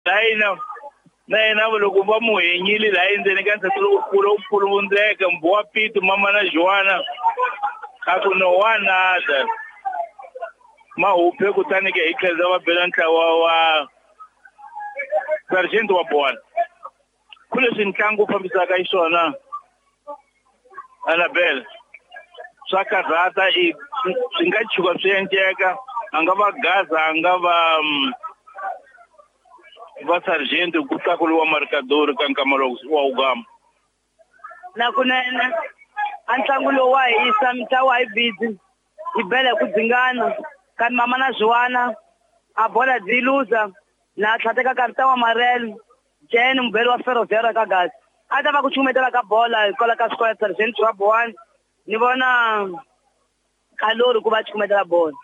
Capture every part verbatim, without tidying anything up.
Layina na yena loko va mu henyile laha endzeni ka nsati lowukulu u pfuluvundzeka mbuwa Pito mama na Joana a ku no one other mahuphe. Kutani ke hi tlhela va bela ntlawa wa sergeant wa Bowana ku leswi ntlangu wu fambisaka xiswona. Annabel, swa karhata, i swi nga tshuka swi endleka, a nga va Gaza, a nga va va sergeant ku tlakuriwa marikadori ka nkama lowu wa ugama. Na kunene a ntlangu lowu wa hisa, mitlangu a yi busy yi bela hi ku dzingana, kambe mama na Zwiwana a bola byi luza na tlhateka karita wa Marel Jen mubeli wa Ferroviário ka Gaza a ta va ku chumetela ka bola hikwalaho ka swikolo Sergeant wa Bowana. Ni vona Kalori ku va chumetela bola,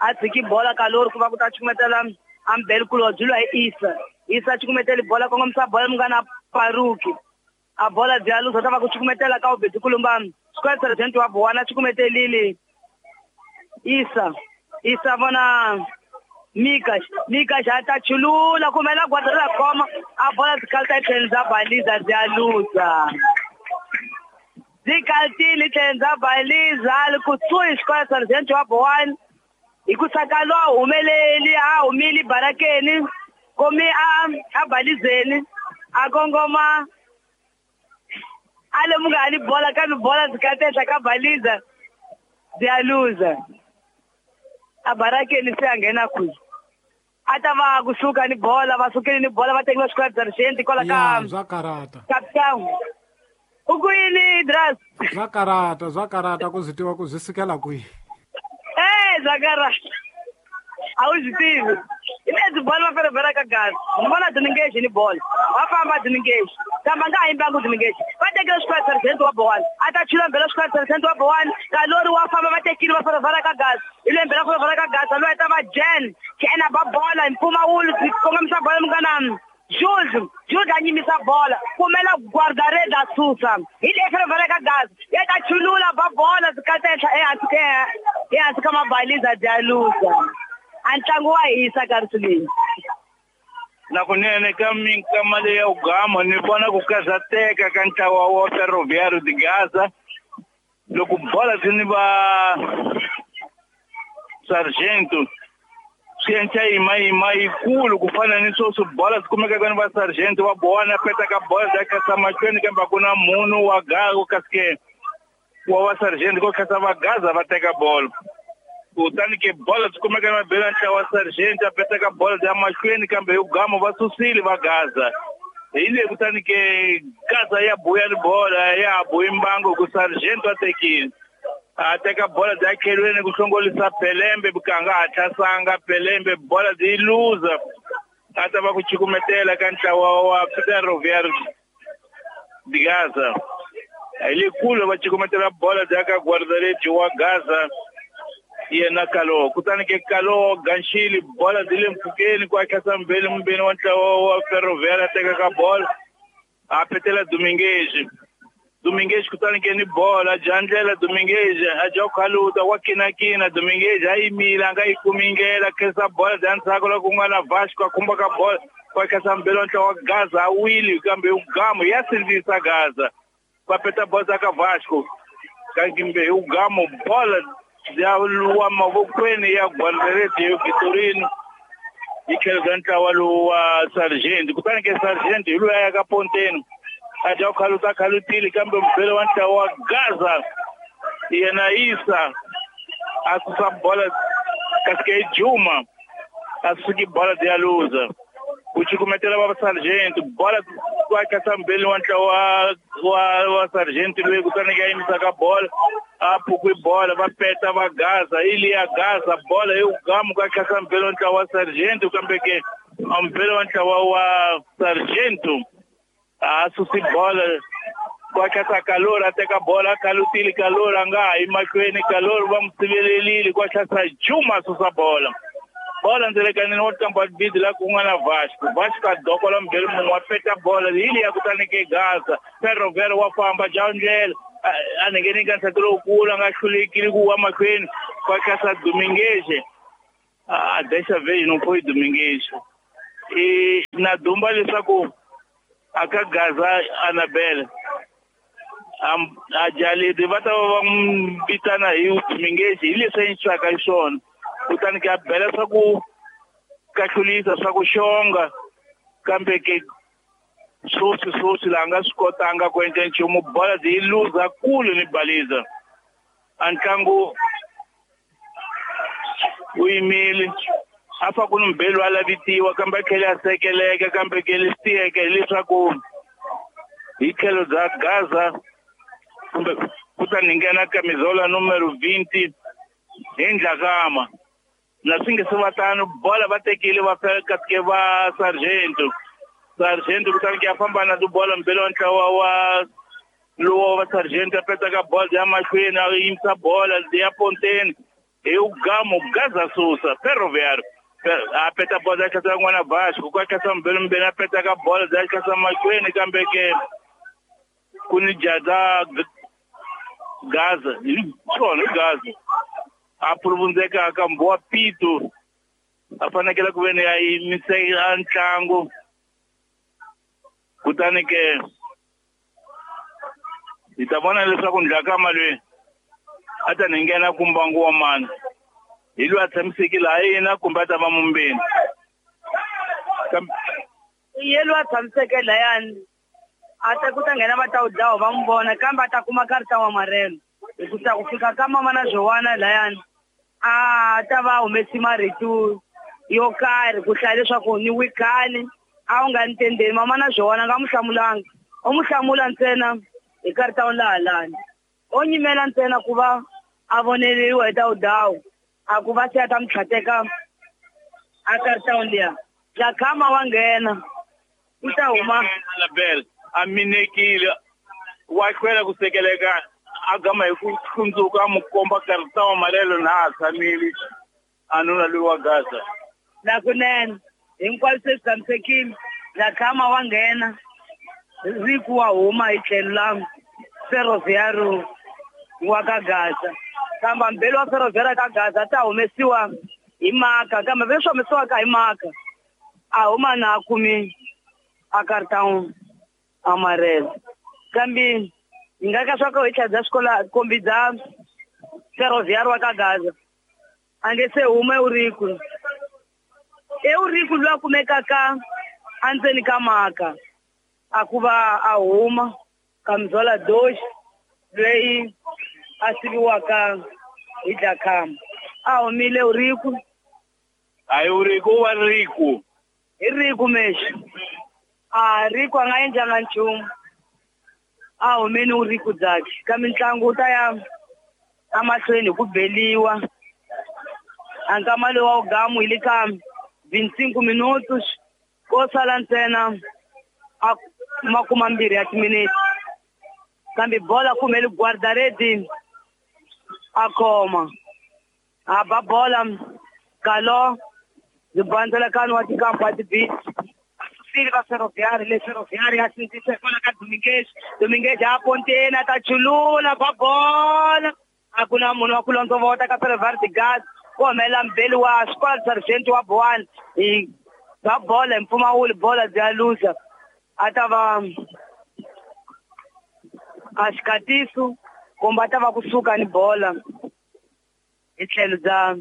a tshiki bola Kalori ku va ku ta chumetela ambeli kulobye lwa hi Isa. Isa chukumeteli bola, kongomisa bola munghana Paruki, a bola bya luza, ta va ku chukumetela ka ubedi kulumba square. Sergeant wa Bowana chukumetelile Isa. Isa vona Mika, Mika xa ta chulula kumela gwada ra khoma a bola tikalta tlhelo bya baliza bya luza, byi kaltile tlhelo bya baliza li kusuhi xikolo Sergeant wa Bowana hi ku saka lo a humeleli, a humile barakeni komi a a balizeni a kongoma a lemuka ni bola, kambe bola byi katehla ka baliza bya luza a barakeni se a nghena kwihi a ta va kusuka ni bola, va sukile ni bola, va tekiwa xikolo sergeant kwala ka Ya, bya karata. Capital u ku yini, Dras? Bya karata, bya karata ku zwi tiva ku zwi sukela kwihi. Eh, bya karata, a wu swi tivi hi lebyi bola va ferevera ka Gaza. Ni vona Dominguez ni bola va famba Dominguez, kambe a nga ha yimbangi Dominguez, va tekile xikolo sergeant wa Bowana a ta chula mbela xikolo sergeant wa Bowana. Kalori wa famba, va tekile va ferevera ka Gaza, hi lembe ra ferevera ka Gaza loyi ta va Jen Jen a ba bola hi mpfumawulo, kongomisa bola munghana Jules. Jules a nyimisa bola kumela guarda-redes a susa hi le ferevera ka Gaza ya ta chulula ba bola zikatehla ehansi ka ehansi ka mabaliza bya luza. A ntlangu wa hisa ka leyi. Na kunene ka minkama leyi ya ugama ni vona ku karhateka ka ntlawa wa Ferroviário de Gaza loko bola byi ni va sargento swi endla yimayima yikulu ku fana ni sweswi bola swi kumekaka ni va sergeant wa Bowana petaka bola bya khasa mahlweni, kambe a ku na munhu wa gaza kasi ke wa va sergeant ko khasa va Gaza va teka bolo. Kutani ke bola byi kumeka ni mabelo ntlawa wa sergeant a petaka bola bya mahlweni, kambe hi gama va susile va Gaza hi le. Kutani ke Gaza ya buya ni bola ya ha buyi mbangu ku sergeant wa tekile a teka bola bya khelweni ku hlongolisa Pelembe bukanga hatlasanga Pelembe, bola byi luza a ta va ku chukumetela ka ntlawa wa Ferroviário de Gaza. Hi le kule va chukumetela bola bya ka guarda-redes wa Gaza yena Kalo. Kutani ke Kalo ganxili bola byi le mpfhukeni ku akhasa mbeni mumbeni wa ntlawa wa Ferroviário a teka ka bola a petela Dominguez. Dominguez kutani ke ni bola dya ndlela Dominguez a dya khaluta wa kinakina Dominguez a yimile a nga yi kumi ndlela, khensa bola bya ndzhaku loko ku nga na Vasco a khumba ka bola ku akhasa mbeni wa ntlawa wa Gaza a wile, kambe ugamu ya sindzisa Gaza va peta bola ka Vasco, kambe hi ugamu bola ya wa mavokweni ya guarda-redes Vitorino yi tlhelo ntlawa lowu wa sergeant. Kutani ke sergeant hi loyi a ya ka ponteni a dya khaluta khalutile, kambe mubele wa ntlawa wa Gaza yena Isa a susa bola kasi ke Juma a suki bola ya luza ku cukumetela va sergeant bola ku akasa mbeli wa ntlawa wa wa sergeant loyi. Kutani ke a yimisa ka bola a pukwi bola va peta va Gaza ili ya Gaza bola hi ugamu ku akasa mbeli wa ntlawa wa sergeant, kambe ke mbeli wa ntlawa wa sergeant a susi bola ku akasa Kalori a teka bola a khalutile Kalori a nga ha yi mahlweni, Kalori va n'wi sivelelile ku ahlasa Juma a susa bola bola ndzelekanini wa kampa bidi la ku nga na Vasco. Vasco a dokola mbeli munhu wa peta bola hi liya. Kutani ke Gaza Ferroviário wa famba dya ndlela a ngheni ka nsati lowukulu a nga hlulekile ku wa mahlweni ku akhasa Dominguez a dessa vez não foi Dominguez. I na dumba leswaku aka Gaza Annabelle am a Jalidi va ta va n'wi vitana hi Mingeji hi leswi endliwaka hi swona kutani ke a bela swa ku kahlulisa swa ku xonga kambe ke swoswi swoswi laha nga swi kotanga ku endla nchumu bola yi luza kule ni baliza a ntlangu wu yimile a fa ku ni mbelu a lavitiwa kambe a tlhela a sekeleka kambe ke leswi tiyeke hileswaku hi tlhelo bya Gaza kumbe kutani nghena camisola numero vinte hi Ndlakama na swi nge se va tano bola va tekile va fika ke va Sargento Sargento kutani ke a famba na tibola mbele wa ntlawa wa lowo wa Sargento a petaka bola ya mahlweni a yimisa bola ya ponteni hi ugamu Gaza susa Ferroviário a peta bola ya tlhasa n'wana Vasco ku tlhasa mbele mbele a petaka bola ya tlhasa mahlweni kambe ke ku ni jaza Gaza hi swona hi Gaza a puluvundzeka ka mbowa pito a fanekele ku veni a yimisela ntlangu kutani ke hi ta vona leswaku Ndlakama loyi a ta ni nghena ku mbangu wa mani hi loyi a tshamisekile laha yena kumbe a ta va mumbeni ye loyi a tshamiseke layani a ta ku ta nghena va ta wu dlawa va n'wi vona kambe a ta kuma karita wa marelo hi ku ta ku fika ka mama na Joana layani a ta va humesi marito yo karhi ku hlaya leswaku ni wikani a wu nga ni tendeni mama na Joana nga n'wi hlamulanga u n'wi hlamula ntsena hi karita wa laha lani o nyimela ntsena ku va a voneriwa hi ta wudawu a ku va se a ta mi tlhateka a karita liya Dlakama wa nghena u ta huma Annabelle a minekile wa hlwela ku sekeleka a gama hi ku hlundzuka a mu komba karita wa malelo na a tshamile a nuna loyi wa Gaza na kunene hinkwaswo se swi tshamisekile Dlakama wa nghena Riku wa huma hi tlhelo la Ferroviário wa ka Gaza kambe mbele wa Ferroviário ka Gaza ta humesiwa hi maka kambe leswi humesiwaka hi maka a huma na a kumi a cartão amarelo kambe hi nga ka swa ku hi tlhela bya xikola kombi bya Ferroviário wa ka Gaza a nge se huma Eurico Eurico loyi a kumekaka endzeni ka maka a ku va a huma camisola dois loyi a siviwaka hi Dlakama a humile Eurico a Eurico wa Rico hi Rico mexi a Rico a nga endlanga nchumu a humeni Eurico byakhe kambe ntlangu wu ta ya emahlweni hi ku beliwa a nkama lowu wa wugamu hi le ka vinte e cinco minutos ko sala ntsena a makuma mbirhi ya timinete kambe bola kumele guarda-rede a khoma a ba bola Galo zibandzela kanu wa tikampa tibisi asusile va Ferroviário le Ferroviário a sindzisa kwala ka Domingues Domingues a ponteni a ta chulula ba bola a ku na munhu wa ku londzovota ka Ferroviário de Gaza ku humelela mbeli wa Squad Sargento wa Boane hi ba bola hi mpfumawulo bola bya luza a ta va a xikatiso kumbe a ta va kusuka ni bola hi tlhelo bya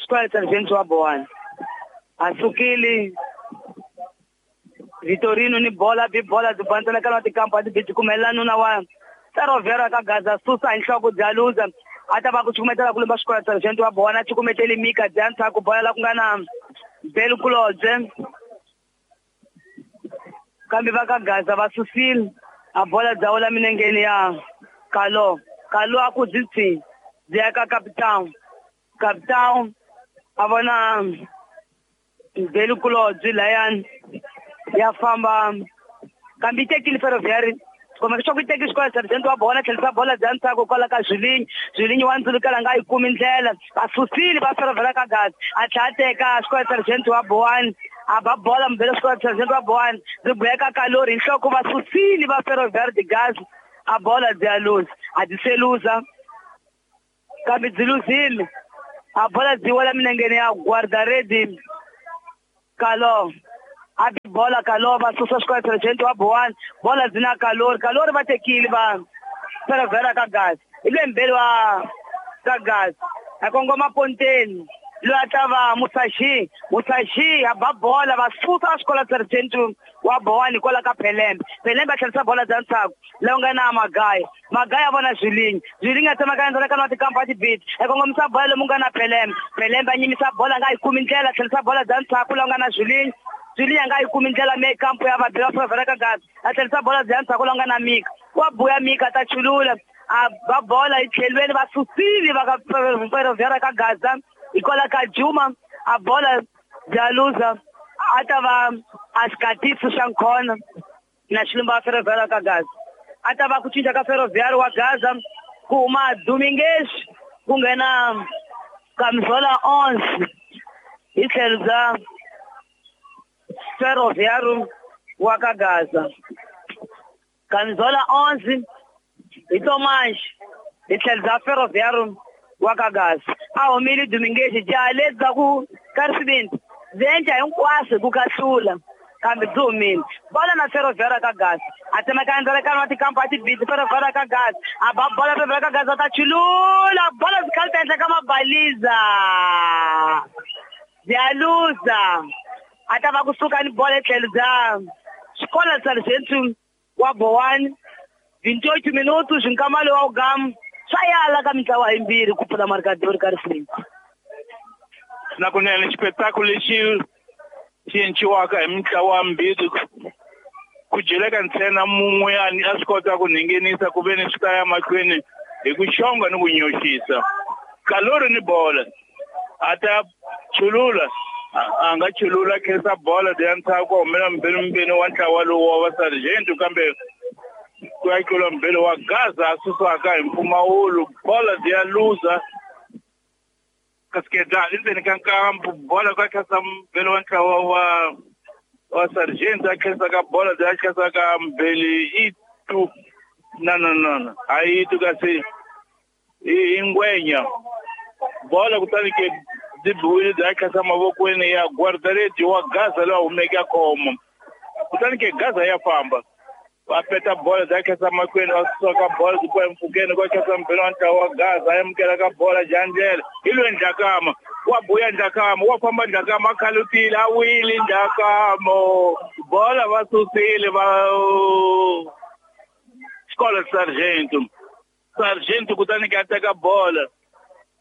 Squad Sargento wa Boane a sukile Vitorino ni bola bi bola byi bandzela ka tikampa ti byi kumelela nuna wa Ferroviário ka Gaza susa hi nhloko bya luza a ta va ku cukumetela ku lumba Squad Sargento wa Boane a cukumeteli Mika bya ndzhaku bola la ku nga na Belkulodze kambe va ka Gaza va susile a bola bya wela minengeni ya Kalo Kalo a ku byi tsi byi ya ka Capitão Capitão a vona Belkulodze layani ya famba kambe yi tekile Ferroviário kumbe swa ku yi teki Squad Sargento wa Boane tlherisa bola bya ndzhaku kwala ka Julinho Julinho wa ndzulukela nga yi kumi ndlela va susile va Ferroviário ka Gaza a tlhela a teka Squad Sargento wa Boane a ba bola mbele Squad Sargento wa Boane ri boheka Kalori hi nhloko va susile va Ferroviário de Gaza a bola bya luza a byi se luza kambe byi luzile a bola byi wela minengeni ya guarda-rede Kalo A bi bola Kalova susa xikola sergeant wa Bowani bola dzina Kalori Kalori va tekile va Ferroviário ka Gaza hi le mbeli wa ka Gaza a kongoma ponteni loyi a ta va Musashi Musashi a ba bola va susa xikola sergeant wa Bowani kwala ka Pelembe Pelembe a tlherisa bola bya ntshaku lowu nga na Magaya Magaya vona Zwilingi Zwilingi a tsemaka endzhaku ka na tikampa tibiti a kongomisa bola lomu nga na Pelembe Pelembe a nyimisa bola nga yi kumi ndlela tlherisa bola bya ntshaku lowu nga na Zwilingi Zwilingi a nga yi kumi ndlela me kampo ya vabyi va Ferroviário ka Gaza a tlherisa bola bya ntshaku lowu nga na Mika wa buya Mika ta chulula a ba bola yi tlhelweni va susile va ka Ferroviário ka Gaza hikwalaho ka Juma a bola bya luza a ta va a xikatiso xa nkhona na xilumba wa Ferroviário ka Gaza a ta va ku cinca ka Ferroviário wa Gaza ku huma Domingues ku nghena Kamzola onze hi tlhelo bya Ferroviário wa ka Gaza Kamzola onze hi Tomas hi tlhelo bya Ferroviário wa ka Gaza a humile Domingues jaha lebyi bya ku ka risivindi byi endla hinkwaswo ku kahlula kambe byi humile bola na Ferroviário ka Gaza a tsemeka endzhaku wa tikampa tibiti Ferroviário ka Gaza a ba bola Ferroviário ka Gaza ta chulula bola byi khalita enhla ka mabaliza bya luza a ta va kusuka ni bola etlhelo bya xikola sergeant wa Bowani vintoito minutos nkamalo wa ugamu swa yala ka mitlawa yimbirhi ku pfula marikadori ka risivindi na kunene xipetaku lexi xi enciwaka hi mitlawa mbirhi ku dyeleka ntsena mun'we a swi kota ku nghenisa ku ve ni swi ta ya mahlweni hi ku xonga ni ku nyoxisa Kalori ni bola a ta chulula a nga chulula khensa bola ya ntshaku humela mbirhi wa ntlawa lowu wa va sergeant kambe ku ya tlula mbirhi wa Gaza a susiwaka hi mpfumawulo bola ya luza kasi ke dlala endzeni ka nkambu bola ka khensa mbirhi wa ntlawa wa wa sergeant a khensa ka bola ya khensa ka mbirhi i tu na na na na a yi tu kasi i ngwenya bola kutani ke byi biwile bya khensa mavokweni ya guardareti wa Gaza loyi a humeke a khoma kutani ke Gaza ya famba va peta bola bya khensa mahlweni va suka ka bola byi kwa empfhukeni kwa khensa mbirhi wa ntlawa wa Gaza a amukela ka bola jandlela hi loyi Ndlakama wa buya Ndlakama wa famba Ndlakama a khalutile a wile Ndlakama bola va susile va xikolo sergeant sergeant kutani ke a teka bola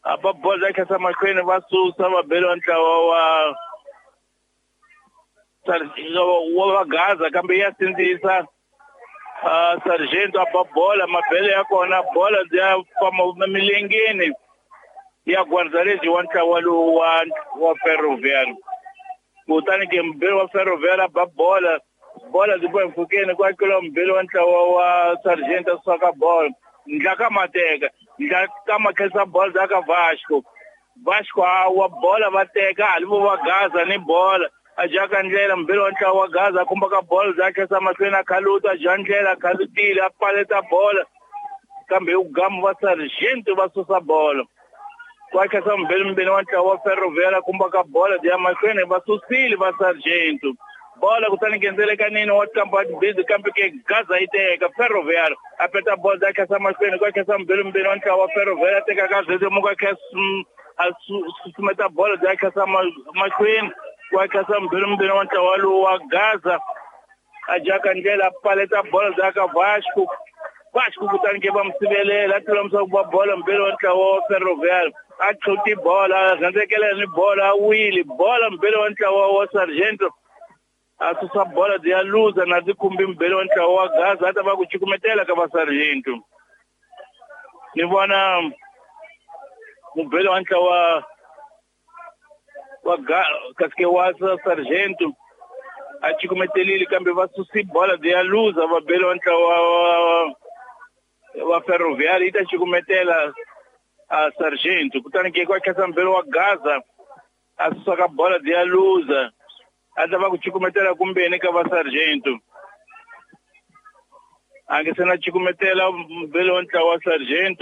a ba bola bya khensa mahlweni va susa va bela ntlawa wa wa va Gaza kambe ya sindzisa Uh, sergeant a ba bola mabele ya kona bola ya famba milengeni ya guardarezi wa ntlawa lowu wa wa Ferroviário kutani ke mbirhi wa Ferroviário a ba bola bola byi boha mpfhukeni ku akeliwa mbirhi wa ntlawa wa sergeant a suka ka bola Ndlakama teka Ndlakama khensa bola bya ka Vasco Vasco a wa bola va teka hali vo va Gaza ni bola a jaka ndlela mbirhi wa ntlawa wa Gaza a khumba ka bola bya khensa mahlweni a khaluta a ja ndlela a khalutile a paleta bola kambe hi gamu va sergeant va susa bola ku khensa mbirhi mbirhi wa ntlawa wa Ferroviário a khumba ka bola bya mahlweni va susile va sergeant bola kutani ngendzelekanini wa kampa busy kambe ke Gaza yi teka Ferroviário a peta bola bya khensa mahlweni ku khensa mbirhi mbirhi wa ntlawa wa Ferroviário a teka ka zezemuka khensa a susumeta bola bya khensa mahlweni wa khensa mbirhi mbirhi wa ntlawa lowu wa Gaza a jaka ndlela a paleta bola bya ka Vasco Vasco kutani ke va mu sivelela a tlula ku ba bola mbirhi wa ntlawa wa Ferroviário a tlhuti bola a rhandzekela ni bola a wile bola mbirhi wa ntlawa wa sergeant a susa bola byi ya luza na byi khumbi mbirhi wa ntlawa wa Gaza a ta va ku cukumetela ka va sergeant ni vona mubeli wa ntlawa wa kasi ke wa sergeant a cukumetelile kambe va susi bola byi ya luza va beli wa ntlawa wa Ferroviário yi ta cukumetela a sergeant kutani ke kwa khensa mbirhi wa Gaza a susa ka bola byi ya luza a ta va ku cukumetela kumbeni ka va sergeant a nge se na cukumetela mbirhi wa ntlawa wa sergeant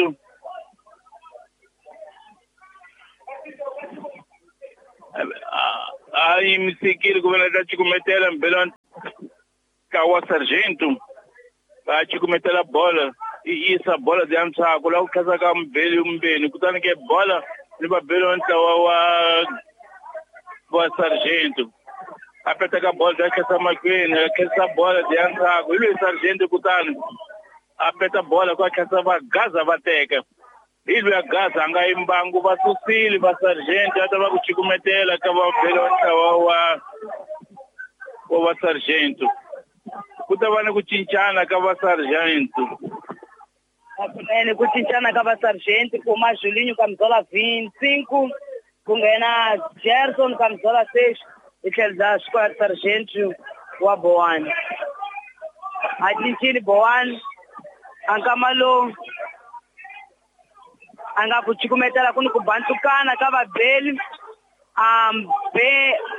A yimisekile ku vena ta cukumetela mbhele wa ntlawa wa Sargento. A cukumetela bola i yisa bola bya ntshaku laha ku tlhasaka mbhele mbeni kutani ke bola ni vabeli wa ntlawa wa wa Sargento. A peteka bola bya khensa mahlweni a khensa bola bya ntshaku hi loyi Sargento kutani a peta bola ku a khensa va Gaza va teka. Hi loyi a Gaza a nga yimbangu va susile va Sargento a ta va ku cukumetela ka vabeli wa ntlawa wa wa va Sargento. Ku ta va ni ku cincana ka va Sargento. Hakunene ku cincana ka va Sargento ku huma Julinho camisola vinte e cinco ku nghena Gerson camisola seis hi tlhelo bya Square Sargento wa Bowane. A cincile Bowane a nkama lowu a nga ku cukumetela ku ni ku bantukana ka vabeli um be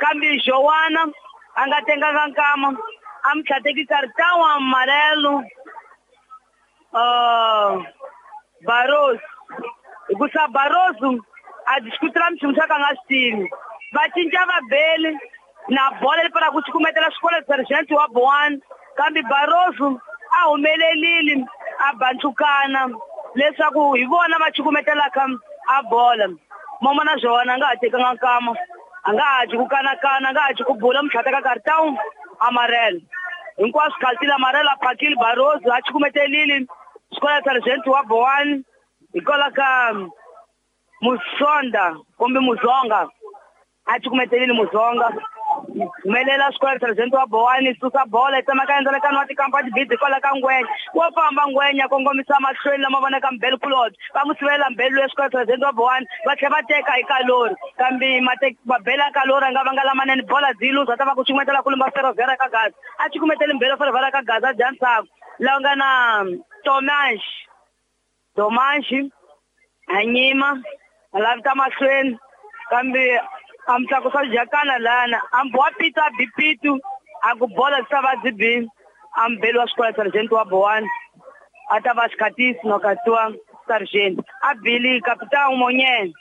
kambe Joana a nga tenganga nkama a mi tlhateki cartão amarelo uh, Barroso hikusa Barroso a discutela nchumu xa ka nga swi tivi va cinca vabeli na bola leyi pfalaka ku cukumetela xikolo Sergeant wa Bowane kambe Barroso a humelelile a bantukana leswaku hi vona va cukumetelaka a bola. Momo na Joana a nga ha tekanga nkama a nga ha dyi ku kanakana a nga ha dyi ku bula mutlhateka cartão amarelo hinkwaswo khaltile amarelo a phakile Barroso a cukumetelile xikolo Sergeant wa Bowane hikwalaho ka Musonda kumbe Muzonga a cukumetelile Muzonga humelela xikolo Sergeant wa Bowane susa bola yi tsemaka endzalekano wa tikampa tibidi hikwalaho ka Ngwenya wo famba Ngwenya kongomisa mahlweni lama vonaka mbhele kulobye va n'wi sivela mbhele loyi xikolo Sergeant wa Bowane va tlhela va teka hi kalori kambe mabele ya kalori a nga vanga lamanene bola byi luza ta va ku cukumetela kulumba Ferroviária ka Gaza a cukumeteli mbhele Ferroviária ka Gaza dya ntshaku laha nga na Tomash Tomashi a nyima a lavita mahlweni kambe a mi tlakusa jakana lana a boha pitu a bi pitu a ku bola byi ta va byi bi a mbheli wa xikolo Sergeant wa Bowane a ta va xikhatisi nokatiwa Sergeant a bili capitão Monyene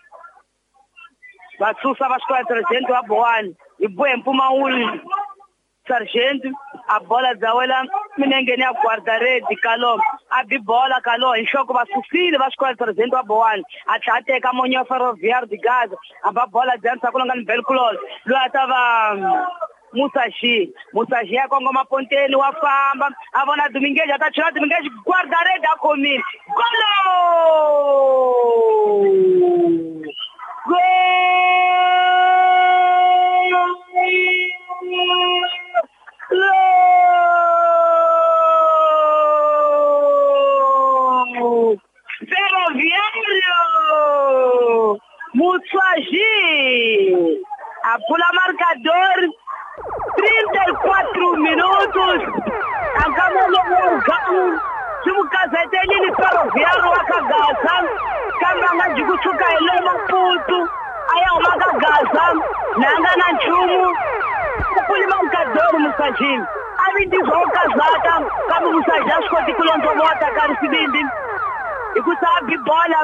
va susa va xikolo Sergeant wa Bowane hi bohe mpfumawulo Sergeant a bola bya wela minengeni ya guarda-rede Kalo a bi bola Kalo hi nhloko va susile va xikolo Sergeant wa Bowane a tlhela a teka Monyo Ferroviário de Gaza a ba bola bya ntshaku lowu nga ni Belkulolo loyi a ta va Musashi Musashi ya kongoma ponteni wa famba a vona Dominguez a ta chela Dominguez guarda-rede a khomile golo gol Ferroviário Musashi a pula marcador trinta e quatro minutos akamolo ximukazetelile Ferroviário wa ka Gaza kambe a nga dyi kusuka hi le Maputo a ya huma ka Gaza na nga na nchumu ku puli marcador Musashi a vindizwa u kazaka kambe Musashi a swi koti ku londzovota ka risivindi hikusa a bi bola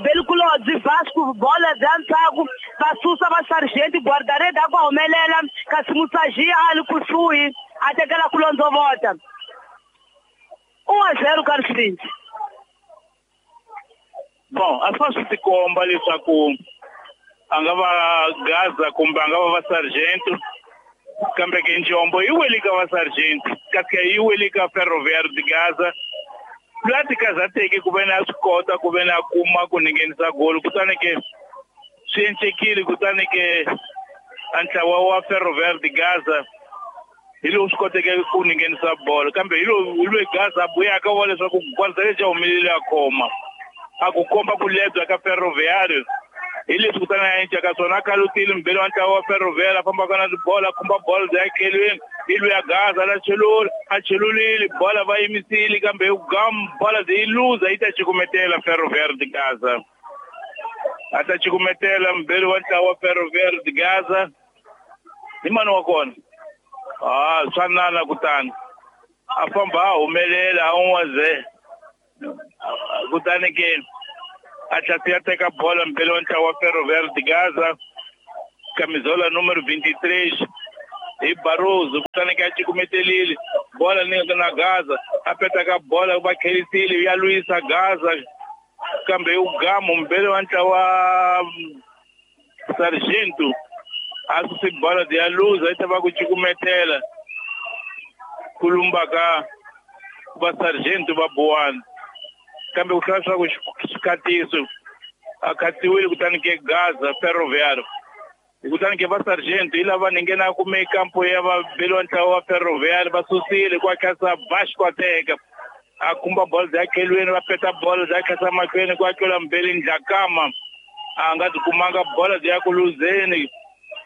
Belkulodzi Vasco bola bya ntshaku va susa va Sergeant guarda-rede a ku humelela kasi Musashi a li kusuhi a tekela ku londzovota um a zero ka risivindi. Bon a swi tikomba leswaku a nga va Gaza kumbe a nga va va Sergeant kambe ke njombo yi wele ka va Sergeant kasi yi wele ka Ferroviário de Gaza la tikazateke ku ve na swi kota ku ve na kuma ku nghenisa golo kutani ke swi encekile kutani ke a ntlawa wa Ferroviário de Gaza hi lowu swi koteke ku nghenisa bolo kambe hi lowu hi loyi Gaza a buyaka wa leswaku guarda-rede a humelele a khoma a ku komba ku lebya ka Ferroviário hi leswi kutani a enceka swona a khalutile mbhele wa ntlawa wa Ferroviário a fambaka na tibola a khumba bolo bya etlhelweni hi loyi a Gaza la chelula a chelulile bola va yimisile kambe hi gam bola yi luza yi ta cukumetela Ferroviário de Gaza a ta cukumetela mbhele wa ntlawa wa Ferroviário de Gaza hi mani wa kona ah swa nana kutani a famba a humelela a un'wa ze kutani ke a tlhela ya teka bola mbhele wa ntlawa wa Ferroviário de Gaza Camisola número vinte e três hi Barroso kutani ka cukumetelile bola ni na Gaza a peta ka bola va khelisile ya lwisa Gaza kambe ugamu mbele wa ntlawa Sargento a susi bola ya luza yi ta va ku cukumetela ku lumba ka va Sargento va Bowana kambe ku hlaya swa ku xikatiso a khatiwile kutani ke Gaza Ferroviário kutani ke va Sargento hi lava ni nghena kume kampo ya va beliwa ntlawa wa Ferroviário va susile kwa khasa Vasco a teka a khumba bola ya khelweni va peta bola ya khasa mahlweni kwa tlula mbeli Ndlakama a nga ti kumanga bola ya ku luzeni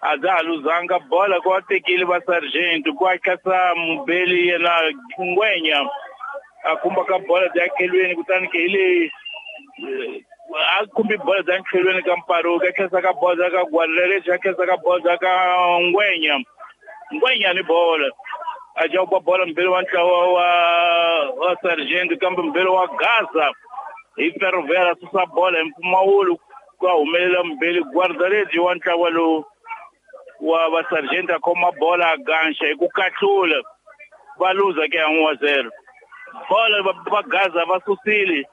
a dza ha luzanga bola kwa tekile va Sargento kwa khasa mubeli yena Ngwenya a khumba ka bola ya khelweni kutani ke hi leyi a khumbi bola ya khelweni ka Mparuka a khesa ka bola ka Gwalele a khesa ka bola ka Ngwenya Ngwenya ni bola a jauba bola mbele wa ntlawa wa wa Sargento kambe mbele wa Gaza hi Ferroviário susa bola hi mpfumawulo ku humelela mbele Guardaredi wa ntlawa lowu wa va Sargento a khoma bola a ganxa hi ku kahlula va luza ke un a zero bola va Gaza va susile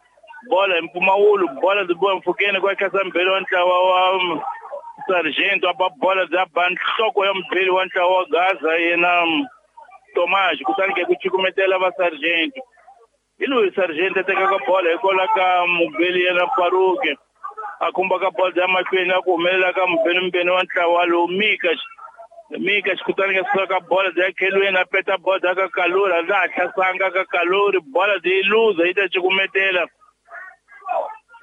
bola hi mpfumawulo bola byi boha mpfhukeni kwa khasa mbele wa ntlawa wa Sargento a ba bola bya ba nhloko ya mbele wa ntlawa wa Gaza yena Tomás kutani ke ku cukumetela va Sargento hi loyi Sargento a tekaka bola hikwalaho ka mubeli yena Paruke a khumba ka bola ya mahlweni a ku humelela ka mubeli mbeni wa ntlawa lowu Mika Mika kutani ke suka ka bola ya khelweni a peta bola ka Kalori a nga ha hlasanga ka Kalori bola yi luza yi ta cukumetela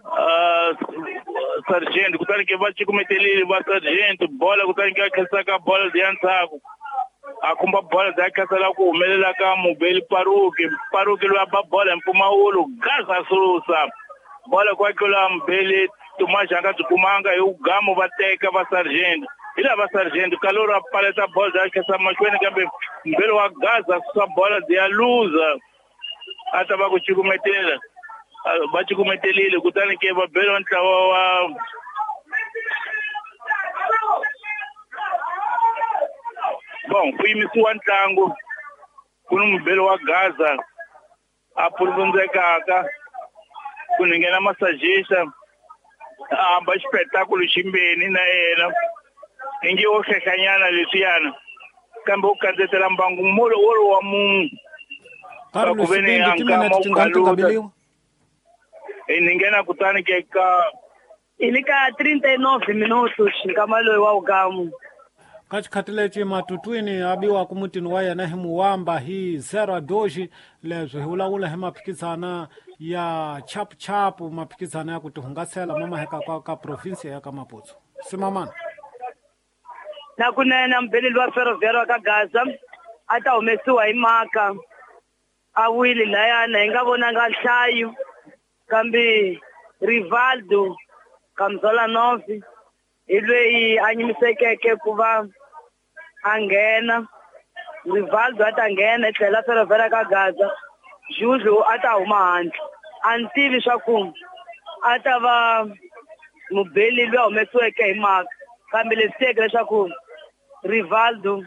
Uh, Sargento kutani ke va cukumetelile va Sargento bola kutani ke a khesa ka bola ya ndzhaku a khumba bola ya khasela ku humelela ka mubeli Paruke Paruke loyi a ba bola hi mpfumawulo Gaza susa bola kwa tlula mubeli Tomás a nga byi kumanga hi ugamu va teka va Sargento hi lava Sargento Kalori a paleta bola ya khesa mahlweni kambe mbeli wa Gaza susa bola ya luza a ta va ku cukumetela va cukumetelile kutani ke va bela ntlawa wa bon ku yimisiwa ntlangu ku ni mubeli wa Gaza a puluvundzekaka ku ni nghena masajista a hamba xipetakulu ximbeni na yena ingi wo hlehlanyana leswiyana kambe u kandzetela mbangu molo wolowo wa munhu ku ve ni a nkama u kaluta ni nghena kutani ke ka hi le ka trinta e nove minutos nkama loyi wa ugamu ka xikhathi lexi matutwini a biwaka mutini wa yena hi Muwamba hi zero a dois leswi hi vulavula hi maphikizana ya chapuchapu maphikizana ya ku tihungasela ma maheka ka, ka provinsia ya ka Maputo simamana na kunene mubeleli wa Ferroviário ka Gaza a ta humesiwa hi maka a wile layana hi nga vonanga nhlayo kambe Rivaldo Kamzola nove hi loyi a nyimisekeke ku va a nghena Rivaldo a ta nghena hi tlhela Ferroviário ka Gaza Juju a ta huma handle a ni tivi swa ku a ta va mubeli loyi a humesiweke hi maka kambe leswi tiyeke leswaku Rivaldo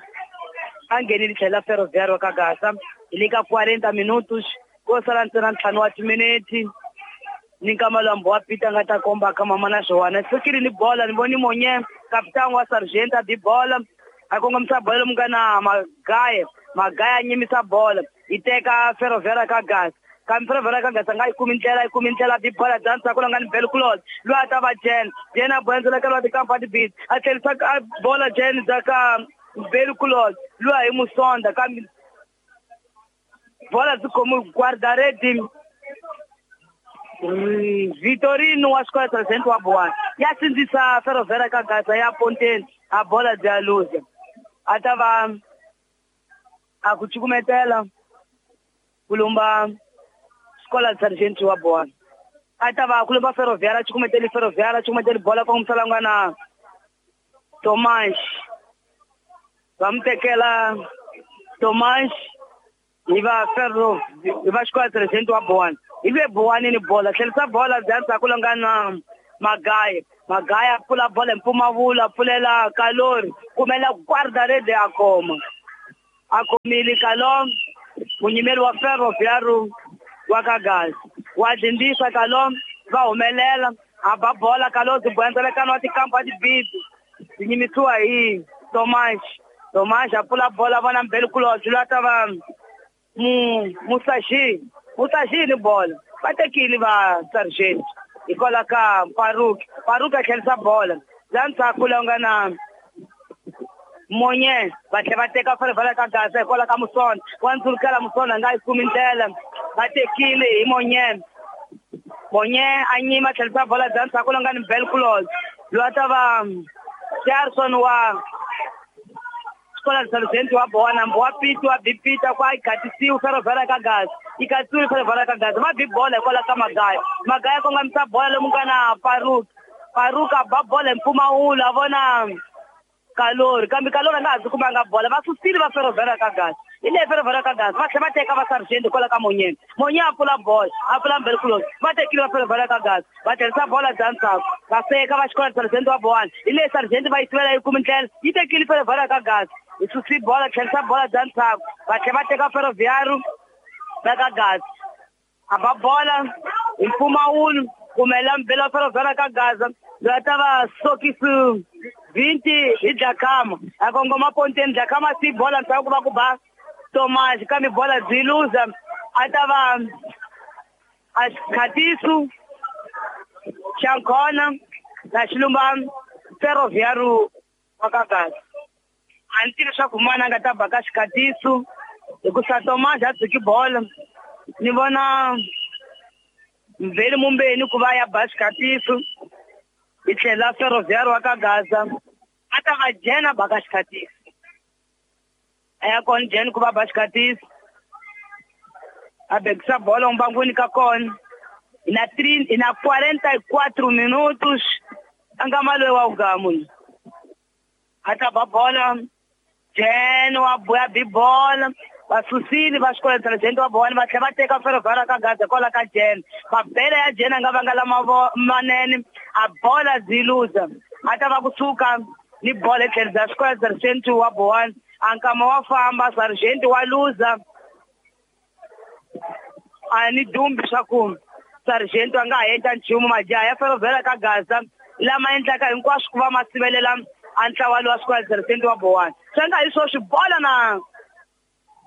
a nghenile tlhela Ferroviário ka Gaza hi le ka quarenta minutos ko sala ntsena ntlhanu wa timinete ni nkama lwambo wa Peter nga ta komba ka mama na swona sukile ni bola ni voni monye kapitani wa Sargento a bi bola a kongomisa bola lomu nga na Magaye Magaye a nyimisa bola yi teka Ferroviário ka Gaza kambe Ferroviário ka Gaza nga yi kumi ndlela yi kumi ndlela bi bola dansa ku nga ni Bel Close loyi a ta va Jen Jen a bola ka lwa tikampa tibisi a tlherisa bola Jen dza ka Bel Close loyi hi Musonda kambe bola byi khomi guardaredi Vitorino wa xikolo Sargento wa Bowana ya sindzisa Ferroviário ka Gaza ya Ponteni a bola bya luza a ta va a ku cukumetela ku lumba xikolo Sargento wa Bowana a ta va ku lumba Ferroviário cukumeteli Ferroviário cukumeteli bola kongomisa nga na Tomás va mu tekela Tomás hi va Ferro hi va xikolo Sargento wa Bowana hi lwe Bowanini bola tlherisa bola bya ndzhaku la nga na Magaye Magaya pfula bola hi mpfumawulo pfulela Kalori kumela guarda-rede a khoma a khomile Kalom munyimeri wa Ferroviário wa Kagazi wa dindisa Kalom va humelela a ba bola Kalori bwenzelekano wa tikampa tibidi tinyimisiwa hi Tomas Tomas a pfula bola vona mbeli kulobye loyi a ta va mu Musashi Musashi ni bola va tekile va Sargent hikwalaho ka Farouk Farouk a tlherisa bola laha ndzhaku lowu nga na Monye va tlhela va teka Ferroviário ka Gaza hikwalaho ka Musona wa ndzulukela Musona a nga yi kumi ndlela va tekile hi Monye Monye a nyima tlherisa bola bya ndzhaku lowu nga ni Bel Kulos loyi a ta va Jarson wa Xikola Sargent wa bona wa Piti wa Bipita kwa ikatisiwe Ferroviário ka Gaza ikatisiwe Ferroviário ka Gaza va bi bola hikwalaho ka Magaya Magaya kongomisa bola lomu nga na Farouk Farouk a ba bola hi mpfumawulo a vona Kalori kambe Kalori a nga ha byi kumanga bola va susile va Ferroviário ka Gaza hi leyi Ferroviário ka Gaza va tlhela va teka va Sargent hikwalaho ka Monyeni Monye a pfula bola a pfula mbeli kuloni va tekile va Ferroviário ka Gaza va tlherisa bola bya ndzhaku va seka va Xikola Sargent wa Bowani hi leyi Sargent va yi sivela yi kumi ndlela yi tekile Ferroviário ka Gaza yi susi bola tlherisa bola bya ndzhaku va tlhela va teka Ferroviário va ka Gaza a ba bola hi mpfumawulo kumela mbeli wa Ferroviário ka Gaza loyi a ta va Sokisi vinti hi Dlakama a kongoma ponteni Dlakama si bola ndzhaku ku va ku ba Tomas kambe bola byi luza a ta va a Khatisu Xankhona na Xilumba Ferroviário wa ka Gaza a ni tivi leswaku mani a nga ta ba ka Xikhatisu hikusa Tomas a tshiki bola ni vona Mveli Mumbeni ku va ya ba Xikhatisu hi tlhela Ferroviário wa ka Gaza a ta va Jena ba ka Xikhatisu a ya kona Jena ku va ba Xikhatisu a bekisa bola mbangwini ka kona na trinta na quarenta e quatro minutos a nga maloyi wa ugamu a ta ba bola Jena wa buya bi bola va susile va Xikola Sargent wa Bowani va tlhela va teka Ferroviário ka Gaza kwala ka Jena mabele ya Jena a nga vanga lama manene a bola byi luza a ta va kusuka ni bola hi tlhelo bya Xikola Sargent wa Bowani a nkama wa famba Sargent wa luza a ni dumbi swa ku Sargent a nga ha endla nchumu majaha ya Ferroviário ka Gaza lama endlaka hinkwaswo ku va ma sivelela a ntlawa lowa Xikola Sargent wa Bowani swi nga hi swo swi bola na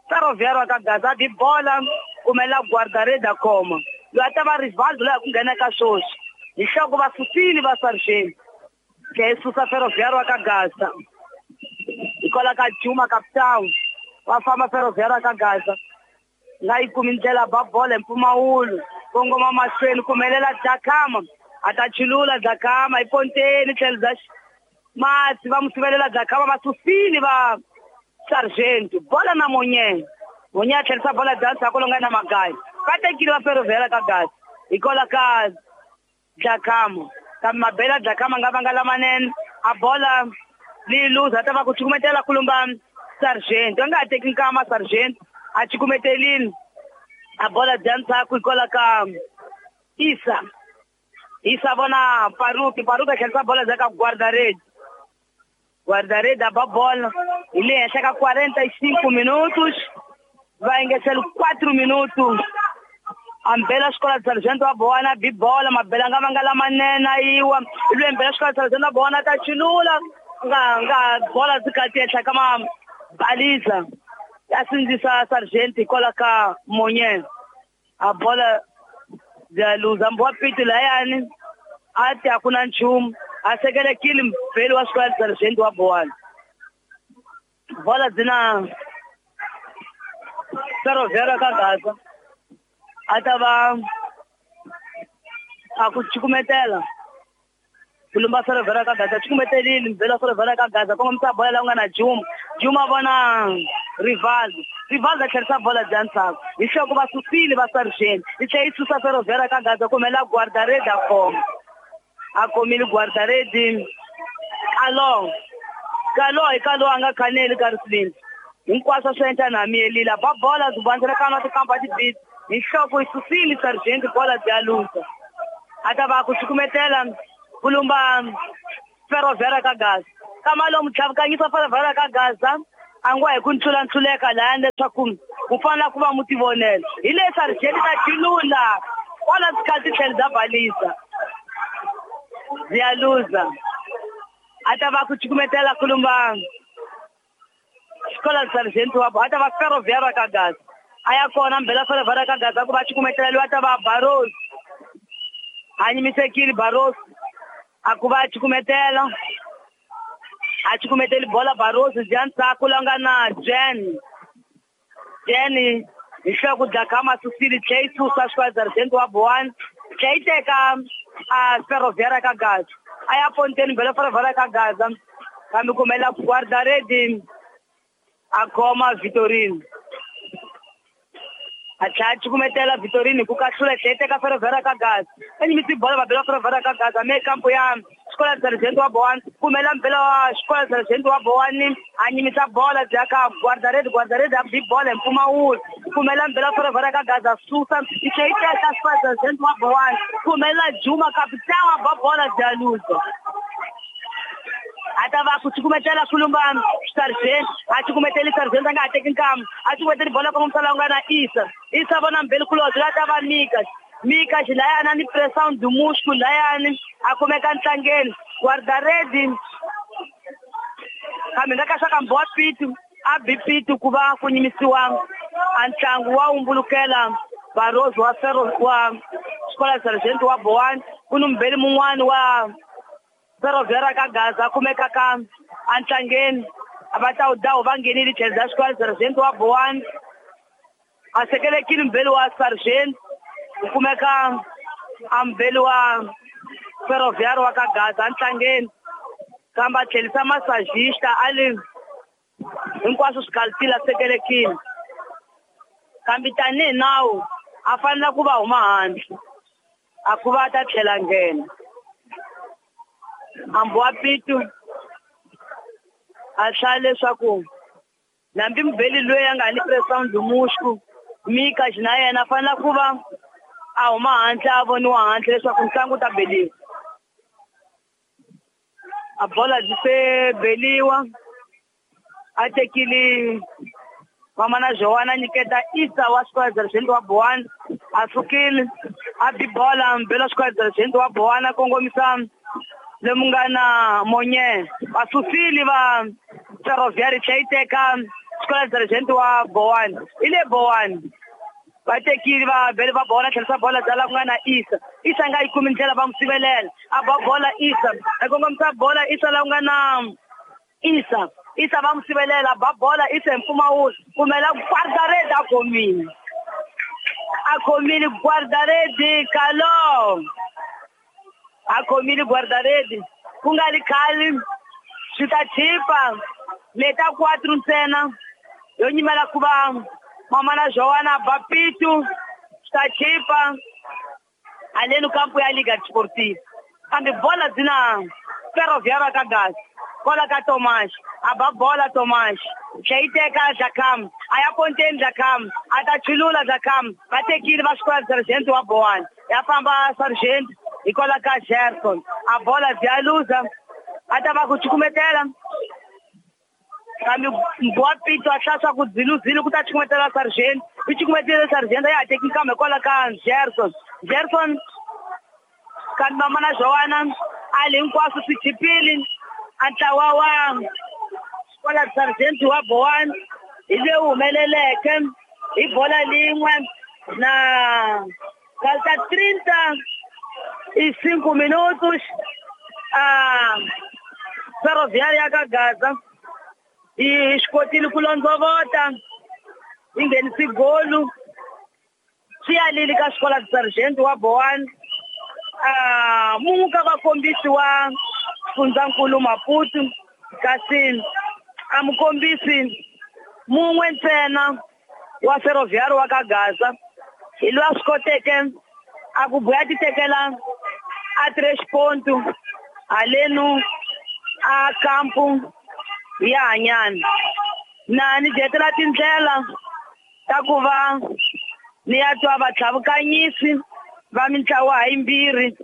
Ferroviário ka Gaza bi bola kumela guarda-rede a khoma loyi a ta va Rivaldo loyi a ku nghena ka swoswi hi nhloko va susile va Sargent tlhe yi susa Ferroviário ka Gaza hikwalaho ka Juma Capitão va famba Ferroviário ka Gaza nga yi kumi ndlela ba bola hi mpfumawulo kongoma mahlweni kumelela Dlakama a ta chulula Dlakama hi ponteni tlhelo bya mati va mu sivelela Dlakama va susile va Sargent bola na Monye Monye a tlherisa bola bya ndzhaku lowu nga na Magaya va tekile va Ferroviário ka Gaza hikwalaho ka Dlakama kambe mabele ya Dlakama nga vanga lamanene a bola leyi luza a ta va ku cukumetela kulumba Sargent a nga ha teki nkama Sargent a cukumetelile a bola bya ndzhaku hikwalaho ka Isa Isa vona Farouk Farouk a tlherisa bola bya ka guarda-rede guarda-rede a ba bola hi le henhla ka quarenta e cinco minutos va engetela quatro minutos a mbela Xikola Sargent wa Bowani bi bola mabele nga vanga lamanene a yiwa hi mbela Xikola Sargent wa Bowani ta chulula nga nga bola byi kati henhla ka mabaliza ya sindzisa Sargent hikwalaho ka Monye a bola bya luza mbo wa Piti layani a ti a ku na nchumu a sekelekile mbeli wa Xikola Sargent wa Bowani bola byi na Ferroviário ka Gaza a ta va a ku cukumetela ku lumba Ferroviário ka Gaza cukumetelile mbeli wa Ferroviário ka Gaza kongomisa bola laha ku nga na Juma Juma vona Rivaldo Rivaldo a tlherisa bola bya ndzhaku hi nhloko va susile va Sargent yi tlhela yi susa Ferroviário ka Gaza kumela guarda-rede a khoma a khomile guarda-rede Kalo Kalo hi Kalo a nga khaneli ka risilini hinkwaswo swi endla na miyelile ba bola byi bandzelekana wa tikampa tibiti hi nhloko yi susile Sargent bola bya luza a ta va ku cukumetela Kulumba Ferroviária ka Gaza. Kama lomu tlhavukanyisa Ferroviária ka Gaza a ngo hi ku ntlula-ntluleka laya leswaku ku fanele ku va mu tivonela. Hi le Sargent ta chilula kwala sikhathi tlhela bya balisa. Ziyaluza. A ta va ku cukumetela kulumba Xikola Sargent wa a ta va Ferroviária ka Gaza. A ya kona mbela Ferroviária ka Gaza ku va cukumetela loyi a ta va Barros. A nyimisekile Barros. A ku va cukumetela. A cukumeteli bola Barros bya ndzhaku la nga na Jen. Jen hi hloko Dlakama susile tlhe yi susa Xikola Sargent wa Boan. Tlhe yi teka a Ferroviária ka Gaza. A ya ponteni mbela Ferroviária ka Gaza. Kambe kumela guarda-rede a khoma Vitorino. A tlhela a cukumetela Vitorino ku kahlula tlhe yi teka Ferroviária ka Gaza. A nyimisi bola va bela Ferroviária ka Gaza me kampo ya Xikola Sargent wa Boan. Kumela mbela wa Xikola Sargent wa Boan a nyimisa bola bya ka guarda-rede guarda-rede a bi bola hi mpfumawulo. Kumela mbela Ferroviária ka Gaza susa yi tlhela yi teka Xikola Sargent wa Boan. Kumela Juma capitão a ba bola bya luza. A ta va ku cukumetela kulumba Sargent a cukumeteli Sargent a nga ha teki nkamu a cukumeteli bola kongomisa laha ku nga na Isa. Isa vona mbeli kulobye la ta va Mika. Mika xilayani ni pressão do músculo layani a kumeka ntlangeni guarda-rede kambe nga ka swa ka mbowa pitu a bi pitu ku va ku nyimisiwa a ntlangu wa umbulukela Barros wa Ferro wa Xikola Sargent wa Boan ku ni mbeli mun'wani wa Ferroviária ka Gaza kumeka ka antlangeni a va ta wu dawu va nghenile tlhelo bya Xikola Sargent wa Boan a sekelekile mbeli wa Sargent ku kumeka a mbeli wa Ferroviária wa ka Gaza ntlangeni kambe a tlhelisa massagista a li hinkwaswo swi kalutile a sekelekile kambe tanihi nawu a fanele ku va huma handle a ku va a ta tlhela nghena. Hambi wa pitu a hlaya leswaku nambi mubeli loyi a nga ni pressão do músculo Mika na yena a fanele ku va a huma handle a voniwa handle leswaku ntlangu wu ta beliwa. A bola byi se beliwa a tekile Mamana Joana nyiketa Isa wa Xikola Sargent wa Boan a sukile a bi bola mbela Xikola Sargent wa Boan a kongomisa lomu nga na Monye va susile va Ferroviária tlhe yi teka Xikola Sargent wa Boan. I le Boan va tekile va bele va bola tlhelisa bola bya la ku nga na Isa. Isa nga yi kumi ndlela va n'wi sivelela a ba bola Isa a kongomisa bola Isa la ku nga na Isa. Isa va n'wi sivelela ba bola Isa hi mpfumawulo kumela guarda-rede a khomile a khomile guarda-rede Kalo a khomile guarda-rede ku nga li khale swi ta chipa leta quatro ntsena yo nyimela ku va Mamana Joana ba pitu swi ta chipa aleno kampo ya Liga Desportiva kambe bola dzina Ferroviária ka Gaza kola ka Tomás a ba bola Tomás tlhe yi teka Dlakam a ya ponteni Dlakam a ta chulula Dlakam va tekile va Xikola Sargent wa Boan ya famba Sargent hi kola ka Gerson a bola bya luza a ta va ku cukumetela kambe mbowa pitu a hlaya swa ku dziluzile ku ta cukumetela Sargent yi cukumetele Sargent a ya ha teki nkambe kwala ka Gerson Gerson kambe Mamana Joana a li hinkwaswo swi chipile a ntlawa wa Xikola Sargent wa Boan hi leyi humeleleke hi bola lin'we na falta trinta e cinco minutos a Ferroviária ka Gaza yi swi kotile ku londzovota yi nghenisi golu swi yalile ka Xikola Sargent wa Boan. A mun'we ka vakombisi wa Fundzankulu Maputo kasi a mukombisi mun'we ntsena wa Ferroviária wa ka Gaza hi loyi a swi koteke a ku buya ti tekela a três ponto haleno a kampo ya hanyana na ni dyetela tindlela ta ku va ni ya twa vatlhavukanyisi va mintlawa hayimbirhi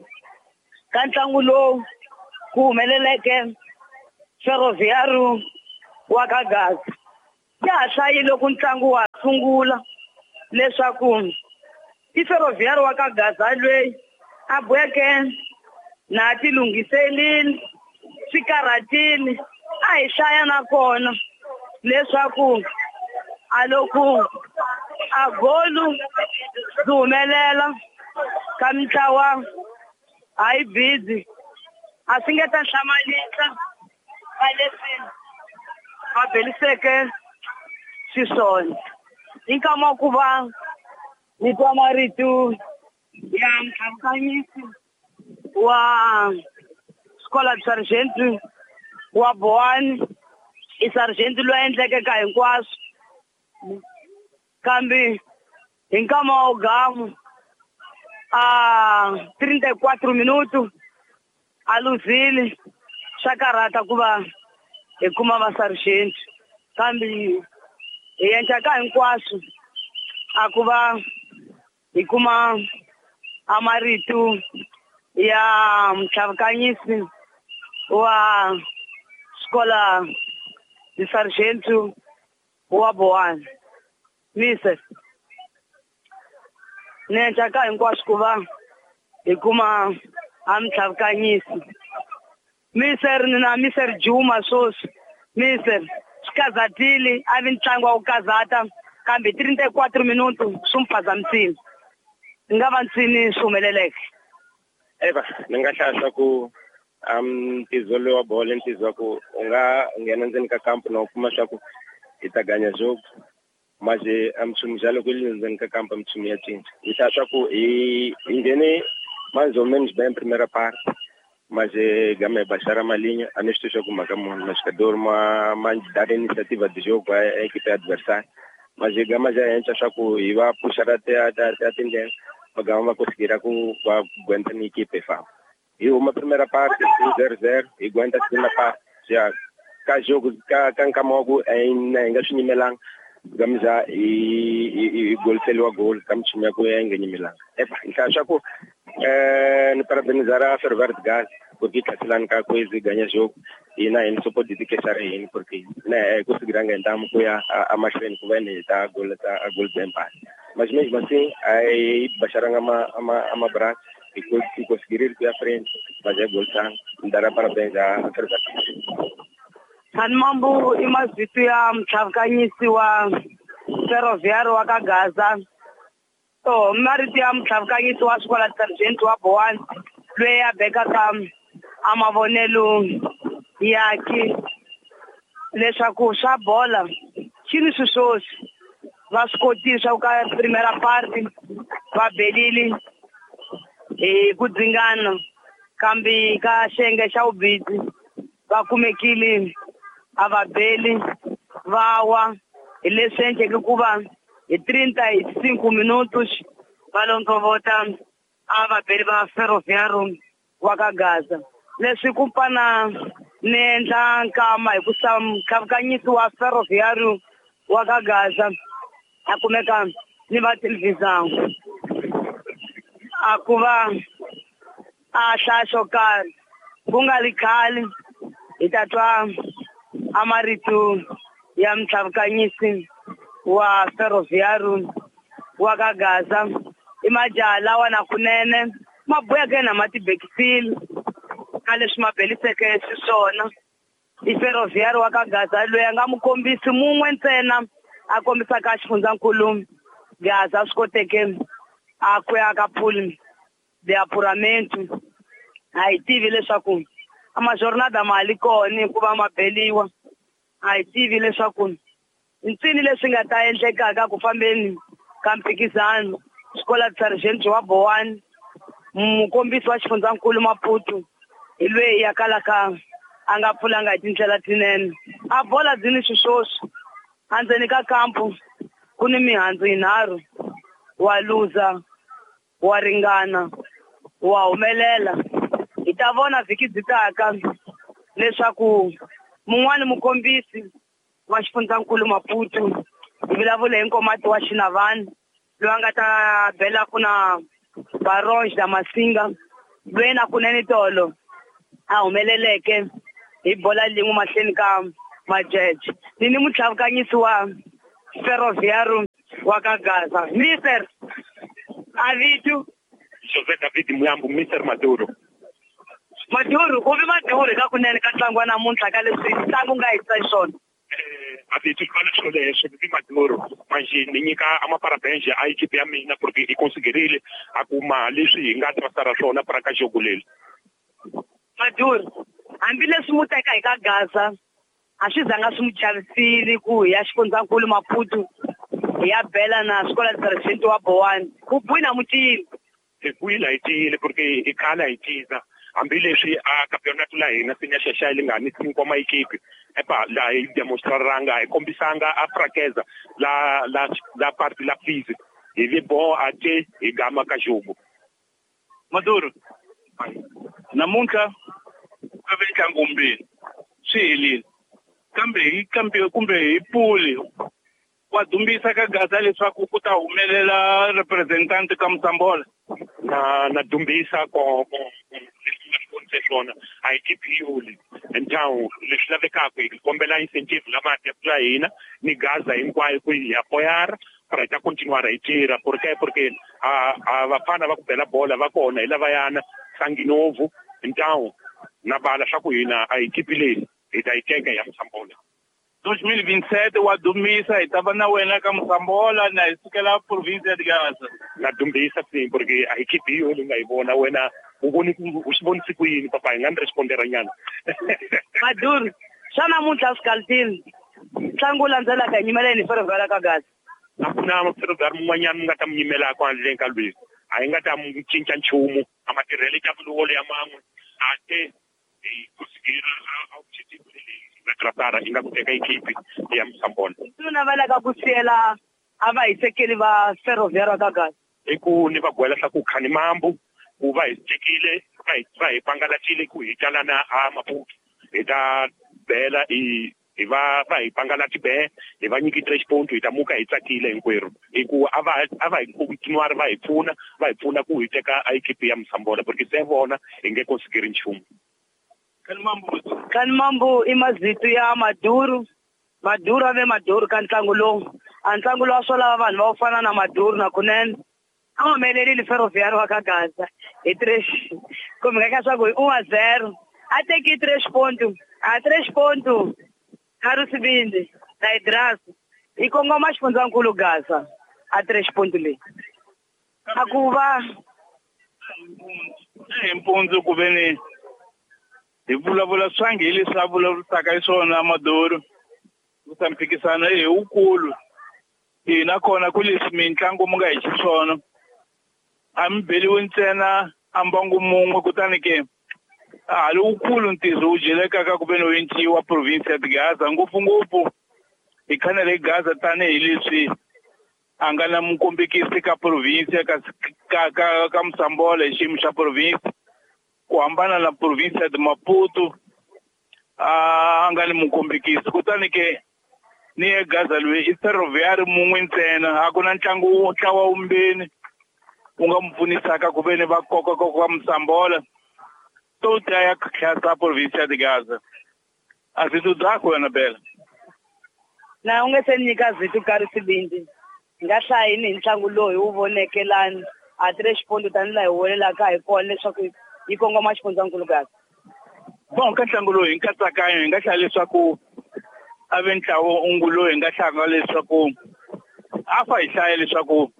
Ka ntlangu lowu ku humeleleke Ferroviário wa ka Gaza. Ya ha hlayile ku ntlangu wa sungula leswaku i Ferroviário wa ka Gaza loyi a boheke na ti lunghiselile swi karhatile a hi hlaya nakona leswaku a loko a golu byi humelela ka mintlawa a yi busy a swi nge ta hlamalisa ka leswi va beliseke xiswona. I nkama wa ku va ni twa marito ya mtlhavukanyisi wa Escola de Sargento wa Boane, i sargento loyi a endleke ka hinkwaswo kambe hi nkama wa gamu a trinta e quatro minuto a luzile swa karhata ku va hi kuma va sargento kambe hi endla ka hinkwaswo a ku va hi kuma a marito ya mtlhavukanyisi wa Escola de Sargento wa Boane. Mister ni endla ka hinkwaswo ku va hi kuma a mtlhavukanyisi. Mister ni na Mister Juma sweswi. Mister swi kazatile a vi ntlangu wa ku kazata kambe trinta e quatro minuto swi n'wi phazamisile. Ni nga va ntsini swi humeleleke. Eva, ni nga hlaya swa ku ntizo lowu wa bolo i ntizo wa ku u nga nghena ndzeni ka kampo na u kuma swa ku hi ta ganya jogo mas a mchumu já loko li ndzeni ka kampo mchumu ya cinca. Hi hlaya swa ku hi hi nghene mais ou menos bem primeira parte, mas gama baixar a malinha, a neste jogo mhaka munhu mas jogador ma ma dar iniciativa de jogo a equipe adversária, mas gama já entra swa ku hi va puxar até até a tendência, mas gama va conseguir ku va aguenta na equipe fama. E uma primeira parte zero zero e aguenta a segunda parte já ka jogo ka ka nkamogo em nga swi nyimelanga gama já e e gol seliwa gol ka mchumu ya ku ya nga nyimelanga. Epa, hi hlaya swa ku eh ni parabenizar a Ferroviário de Gaza porque tlhaselani ka kwezi ganha jogo e na hina só pode dizer que era hina porque né conseguiram ganhar ku ya a mahlweni ku va ni ta gol ta a gol de empate, mas mesmo assim aí baixaram ama ama ama braço e conseguiram ir à frente, mas é gol sang dará parabéns a Ferroviário. Mambo i mavito ya mtlhavukanyisi wa Ferroviário wa ka Gaza. To marito ya mtlhavukanyisi wa Escola de Sargento wa Boane loyi a bekaka a mavonelo yake leswaku swa bola xi ni swiswoswi va swi kotile swa ku ka primera parte va belile hi ku dzingana kambe ka xiyenge xa vubisi va kumekile a va beli va wa hi leswi endleke ku va hi trinta e cinco minutos va londzovota a va beli va Ferroviário wa ka Gaza. Leswi ku pana ni endla nkama hi ku sa mtlhavukanyisi wa Ferroviário wa ka Gaza a kumeka ni va televisão a ku va a hlaya xo karhi ku nga ri khale hi ta twa a marito ya mtlhavukanyisi wa Ferroviário wa ka Gaza. I majaha lawa na kunene ma boheke na ma tibekisile ka leswi ma beliseke xiswona. I Ferroviário wa ka Gaza loyi a nga mukombisi mun'we ntsena a kombisaka xifundzankulu Gaza swi koteke a ku ya ka pool de apuramento. A hi tivi leswaku a majornada ma li kona hikuva ma beliwa, a hi tivi leswaku ntsini leswi nga ta endlekaka ku fambeni ka mphikizano. Escola de Sargento wa Boane mukombisi wa xifundzankulu Maputo hi loyi ya kalaka a nga pfulanga hi tindlela tinene. A bola byi ni swiswoswi endzeni ka kampo ku ni mihandzu yinharhu wa luza wa ringana wa humelela. Hi ta vona vhiki byi taka leswaku mun'wani mukombisi wa xifundzankulu Maputo hi vulavula hi Nkomati wa Xinavani loyi a nga ta bela ku na Baronge da Masinga Loyi na kunene tolo a humeleleke hi bola lin'we mahlweni ka majeje. Ni ni mutlhavukanyisi wa Ferroviário wa ka Gaza. Mister Avitu José David Muyambo, Mister Maduro. Maduro, ku vi Maduro ka kunene ka ntlangu wa namuntlha ka leswi ntlangu nga hisa xiswona. Avitu fana xolexo vi Maduro manje ni nyika amaparabéns a equipe ya mina porque i conseguirile a kuma leswi hi nga trasara swona para ka jogo leli. Maduro, hambileswi mu teka hi ka Gaza a swi zanga swi mu chavisile ku hi ya xifundzankulu Maputo hi ya bela na swikola president wa Bowani ku bwina mutini. Hi bwina hi tiyile porque hi khala hi tiza hambileswi a campeonato la hina swi nga xaxa li nga ni cinco ma equipe epa la hi demonstraranga hi kombisanga a fraqueza la la la parte la física hi vi bo a te hi gama ka jogo. Maduro namuntlha ka ve ntlangu mbirhi swi helile kambe hi kambe kumbe hi puli wa dumbisa ka Gaza leswaku ku ta humelela representante ka Msambola na na dumbisa ko ko leswi swona a hi tipiyuli então leswi lavekaka hi kombela incentive lama ya hina ni Gaza hinkwayo ku hi apoiar para ta continuar hi tirha porque porque a a vafana va ku bela bola va kona hi lavayana Sanginovo então na bala swa ku hina a hi equipe leyi hi ta yi teka ya Msambola. dois mil e vinte e sete wa dumisa hi ta va na wena ka Msambola na hi sukela província de Gaza. Na dumbisa sim porque a equipe yo nga yi vona wena u voni u swi vonisi ku yini papa hi nga ni respondera nyana. Maduro, xa namuntlha swi kaltini ntlangu wu landzelaka hi nyimela yini Ferroviário ka Gaza? A ku na Ferroviário mun'wanyana mi nga ta mi nyimelaka handleni ka lweyi a hi nga ta mu cinca nchumu a matirhelo ya vulolo ya man'we a te hi kusikira a objetivo leyi tratar i nga ku teka equipe ya Msambola. Swi navelaka ku siyela a va hisekeli va Ferroviário ka Gaza i ku ni va gwela swa ku khani mambu ku va hi tekile va hi va hi pangalatile ku hi talana a Maputo hi ta bela i hi va va hi pangalati be hi va nyiki tres ponto hi ta muka hi tsakile hinkwerhu hi ku a va a va hi continuar va hi pfuna va hi pfuna ku hi teka a equipe ya Msambola porque se vona hi nge consigiri nchumu. Kan mambu i mazito ya Maduro. Maduro a ve Maduro ka ntlangu lowu a ntlangu lowu a swo lava vanhu va ku fana na Maduro na kunene a humelerile Ferroviário wa ka Gaza hi tres kumbe nga ka swa ku hi un a zero a teki tres ponto a tres ponto Karusibindi na Idrasi hi kongoma xifundzankulu Gaza a tres ponto leyi a ku va hi mpundzu ku ve ni hi vulavula swangi hi leswi a vulavurisaka hi swona Maduro ku ta mphikisano i wukulu hina kona ku leswi mitlangu mu nga hi xiswona a mi beliwi ntsena a mbangu mun'we kutani ke a hali wukulu ntirho wu dyelekaka ku ve ni wu enciwa province ya Gaza ngopfungopfu hi khanele hi Gaza tanihileswi a nga na mukombekisi ka province ka ka ka ka Msambola hi xiyimo xa province ku hambana na province ya Maputo a nga ni mukombekisi kutani ke ni ye Gaza loyi i Ferroviário mun'we ntsena a ku na ntlangu ntlawa wumbeni wu nga mu pfunisaka ku ve ni va koka koka Msambola to ta ya khatlhasa province ya Gaza a swi tudzako wena bela na u nge se nyika zito Karusibindi hi nga hlayini hi ntlangu lowu hi wu voneke lani a tres ponto tanihi laha hi wolelaka hi kona leswaku yi kongoma xifundzankulu Gaza. Bon ka ntlangu lowu hi nkatsakanyo hi nga hlaya leswaku a ve ntlawa ungu lowu hi nga hlanga leswaku a fa hi hlaya leswaku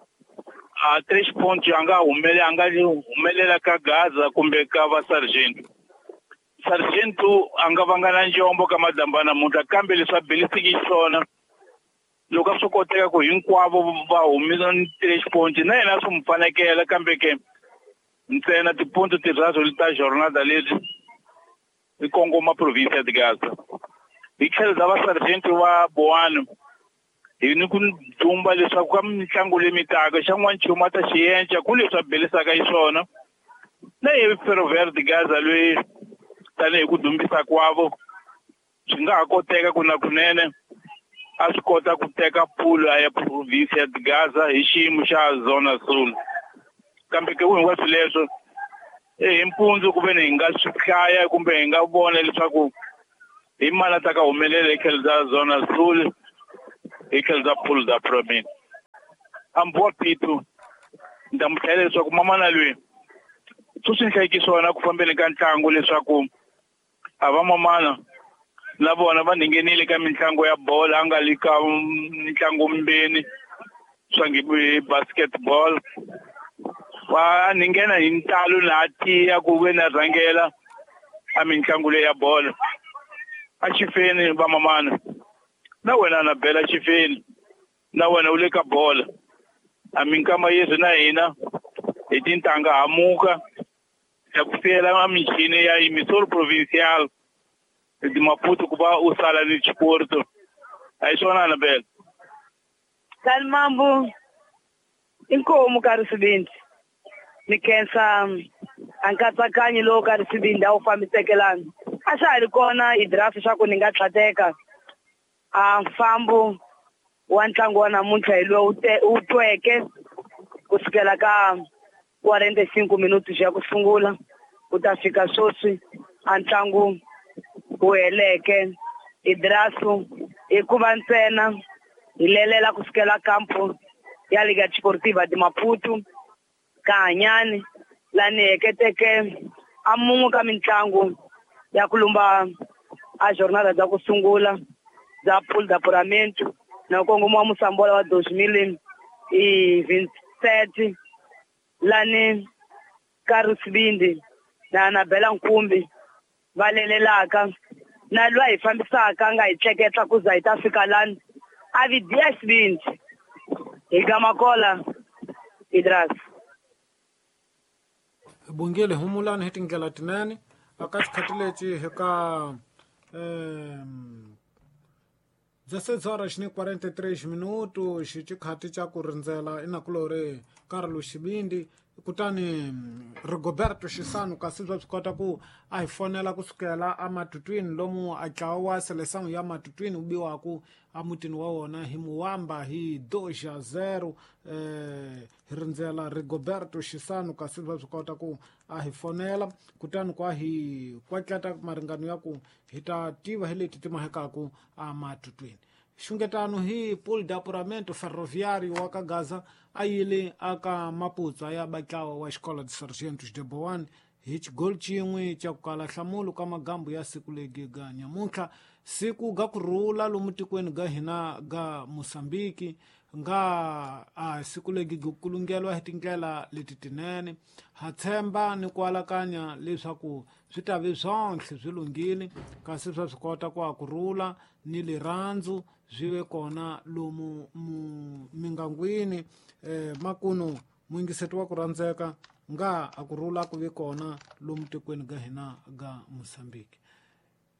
a tres ponto a nga humele a nga humelela ka Gaza kumbe ka va Sargento. Sargento a nga vanga na njombo ka madamba namuntlha kambe leswi a belisiki xiswona loko a swi koteka ku hinkwavo va humisa tres ponto na yena swi mu fanekela kambe ke ntsena tiponto tirharu ta jornada leti hi kongoma province ya Gaza. Hi tlhelo bya va Sargento va Boano hi ni ku dumba leswaku ka mitlangu leyi mitaka xa n'wanchumu a ta xi enca ku leswi a belisaka xiswona na hi Ferroviário de Gaza loyi tanihi ku dumbisa kwavo swi nga ha koteka ku na kunene a swi kota ku teka pulu ya province ya Gaza hi xiyimo xa Zona Sul. Kambe ke hinkwaswo leswo Hi mpundzu ku ve ni hi nga swi hlaya kumbe hi nga vona leswaku hi mali ta ka humelela hi tlhelo bya Zona Sul, hi tlhelo bya Pool da Promin. Ambuwa Pitu ni ta mu hlayela leswaku mamana loyi swi swi hlayiki swona ku fambeni ka ntlangu leswaku a va mamana na vona va nghenile ka mitlangu ya bolo, a nga le ka mitlangu mbeni swa nge basketball, va nghena hi ntalo na tiya ku ve na rhangela a mitlangu leyi ya bolo. A xifeni va mamana na wena na bela xifeni na wena u le ka bolo, a minkama yesu na hina hi tintanga hamuka ya ku fiyela a michini ya Emissor Provincial de Maputo ku va u sala ni xiporto. A hi swona Annabel? Kalimambu inkomu ka Risibindi ni khensa a nkatsakanyo lowu ka Risibindi a wu fambisekelana a swa ha ri kona i draft swa ku ni nga tlhateka a mfambo wa ntlangu wa namuntlha hi lowu wu tweke kusukela ka quarenta e cinco minutos ya ku sungula ku ta fika sweswi a ntlangu wu heleke. Idrasu hikuva ntsena hi lelela kusukela kampo ya Liga Desportiva de Maputo ka Hanyani lani heketeke a mun'we ka mitlangu ya ku lumba a jornada bya ku sungula bya Pool da Apuramento na kongomo wa Mosambola wa dois mil e vinte e sete lani ka Risibindi na Anabela Nkumbi va lelelaka na lwa hi fambisaka nga hi tleketla ku za hi ta fika lani a vi diya Sibindi hi gamakola Idras. Bungile humulani hi tindlela tinene aka xikhathi lexi hi ka um dezesseis horas ni quarenta e três minutos xikhathi xa ku rindzela inakulori Carlos Xibindi kutani Rigoberto Xisano kasi swa swi kota ku a hi fonela kusukela ematutwini lomu a ntlawa wa Seleção ya matutwini wu biwaku emutini wa wona hi Muwamba hi dois a zero. Eh, hi rindzela Rigoberto Xisano kasi swa swi kota ku a hi fonela kutani kwa hi kwatlata maringano ya ku hi ta tiva hi leti ti mahekaku ematutwini. Xungetano hi Pool de Apuramento Ferroviário wa ka Gaza a yile aka Maputo ya batlawa wa Escola de Sargentos de Boane hi xigoli xin'we xa ku kala nhlamulo ka magambu ya siku legi ga nyamuntlha, siku ga ku rhula lomu tikweni ga hina ga Mosambiki nga a siku legi ku kulungeliwa hi tindlela leti tinene. Ha tshemba ni ku alakanya leswaku swi ta vi swonhle swi lunghile kasi swa swi kota ku a ku rhula ni lirhandzu swi ve kona lomu mingangwini. Eh, makuno muyingiseti wa ku rhandzeka nga a ku rhula ku ve kona lomu tikweni ga hina ga Mosambiki.